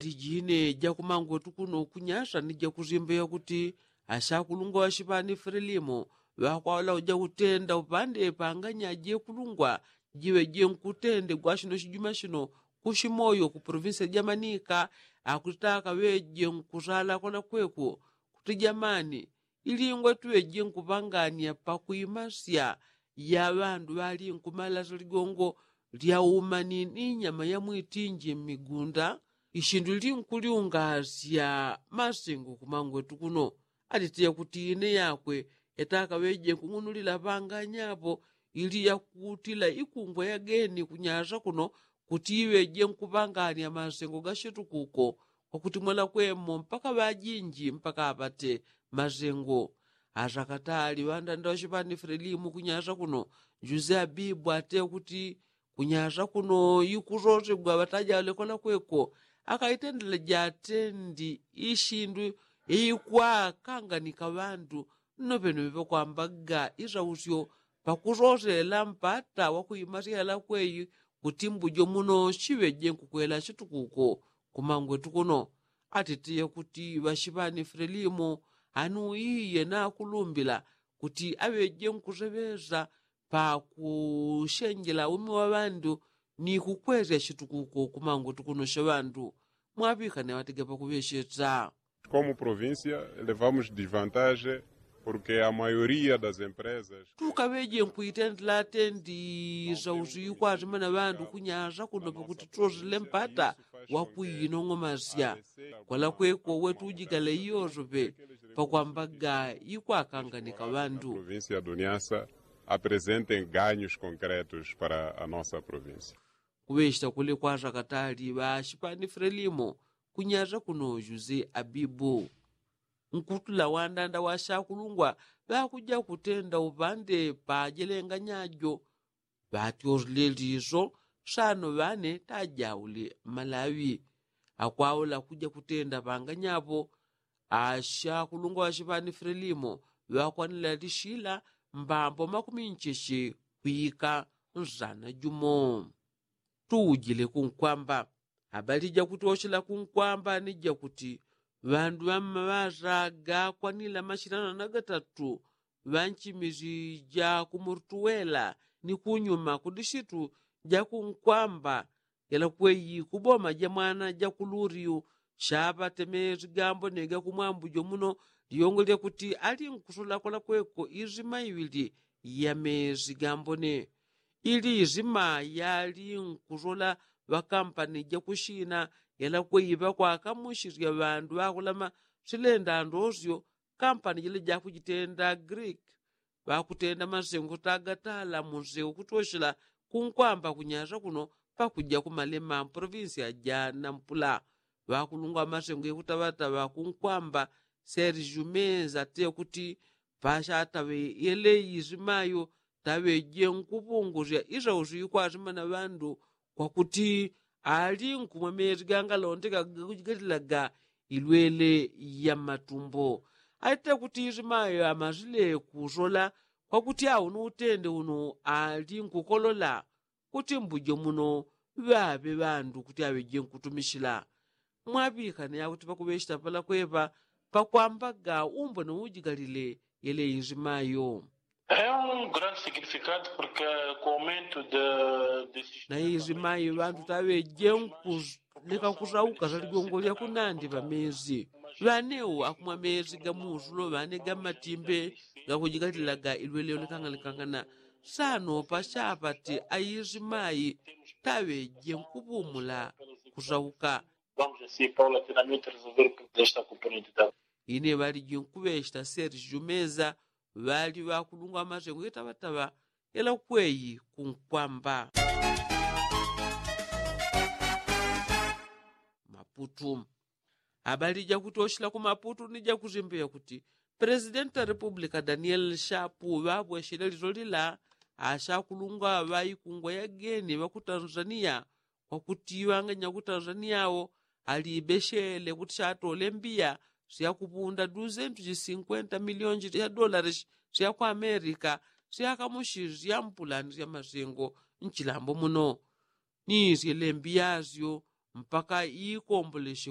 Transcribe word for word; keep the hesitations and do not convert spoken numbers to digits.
Lijine jakumangwetu kuno kunyasa ni jakuzimbeya kuti ashakulungwa washipani frelimo ŵakwaula uja kutenda upande panganya jekulungwa jiŵe jenkutende gwashino shijuma shino kushimoyo ku provinsi ya jamanika akutitaka ŵeje nkusala kwalakweko kuti jamani ilingwe tuŵeje nkupangania pakuimasya ya ŵandu ŵalinkumala siligongo lya umani ni nyama ya mwitinji mmigunda ishindu linkuliungasya masengo kumangwetu kuno. Atitiya kuti ine yakwe yatakaŵeje nkung'unulila panganyapo ili yakutila ikungwa yageni kunyasa kuno kuti iŵeje nkupangania masengo gashitukuko kwakuti mwalakwemo mpaka ŵajinji mpaka apate masengo. Asakatali ŵandanda washipani frelimu kunyasa kuno juze abibu ate kuti kunyasa kuno ikusosegwa ŵataja lekola kweko akaitendela jatendi ishindu ikwakanganika ŵandu. Nno peno ŵepakwambaga isausyo pakusosela mpata wakuimasya yalakweyi kuti mbujo muno shiŵeje nkukwela shitukuko kumangwetu kuno. Atitiye kuti ŵashipani frelimu anuiye nakulumbila kuti aŵeje nkuseŵesa pakushenjela umi wa ŵandu ni kukwesya shitukuko kumangwetu kuno sha ŵandu. Mwaŵikane ŵatege pakuŵeshetsa. Komu provincia levamos desvantaje porque a mayoria das empresas tukaŵeje nkuitendela atendi sausu ikwazimana ŵandu kunyasa kuno pakuti tusosele mpata wakuinong'omasya kwalakweko wetujigale iyosope pakwambaga ikwakanganika ŵandu. Provincia do niasa apresentem ganhos concretos para a nossa provincia. Kuŵechita kuli kwasakatali ŵashipani frelimo kunyasa kuno juze abibu nkutula wandanda washakulungwa ŵakuja kutenda upande pajelenganyajo ŵatyosleliso sano ŵane tajauli malawi. Akwaula kuja kutenda panganyapo ashakulungwa ŵashipani frelimo ŵakwanila lishila mbambo makumi ncheche kwika nzana jumo. Tuujile kunkwamba. Abali jakutyoshela kunkwamba ni jakuti ŵandu ŵammaŵaza gakwanila mashilano na gatatu ŵanchimiji ja kumurtuwela ni kunyuma kudishitu ja kunkwamba yalakweyi kuboma ja mwana ja kuluriu shaŵatemezi gambone gakumwambujo muno. Liyongo lyakuti ali nkusola kwalakweko izima iŵili ya mezi gambone ili izima yali nkusola ŵakampani jakushina yalakweyi ŵakwakamushisya ŵandu ŵakulama silenda ndosyo kampani jila jakujitenda greek ŵakutenda masengo tagatala munseu kutwoshela kunkwamba kunyasa kuno pakuja kumalema mprovinsia ja nampula. Ŵakulungwa masengo yakutaŵataŵa kunkwamba sergiu meza te kuti pashataŵe yeleyi isimayo taŵeje nkupungusya isausu ikwasima na ŵandu kwakuti ali nkumwa mezi gangalondeka gakujigatilaga ilwele ya matumbo. Atite kuti isimayo amasile kusola kwakuti awo ni utende uno ali nkukolola kuti mbujo muno ŵaŵe ŵandu kuti aŵeje nkutumishila. Mwaŵikane yakuti pakuŵechita pala kweŵa pakwambaga umbone ujigalile yele inzimayo. Na inzimayo ŵandu taŵeje nkuleka kusauka za ligongo lya kunandi ŵamezi ŵanewo akumwa mezi gamusulo ŵane gamatimbe gakujigalilaga ilwele yonekang'anekang'ana. Sano pashapati ainzimayi taŵeje nkupumula kusauka. Ine ŵaliji nkuŵechita sergio meza ŵali ŵakulungwa masengo yetaŵataŵa yela kweyi kunkwamba. Maputu. Abali jakutoshela ku maputu ni jakuzimbeya kuti presidenti wa republika daniel shapu ŵabweshele lilo lila ashakulungwa ŵa ikungwa yageni ŵa ku tanzania kwakuti ŵanganya ku tanzania wo alibeshele kuti shatole mbiya syakupunda duzentu jisinkwenta milionji sya dolari sya ku amerika syakamushi sya mpulani sya masengo nchilambo muno. Ni syele mbiya syo mpaka ikomboleshe.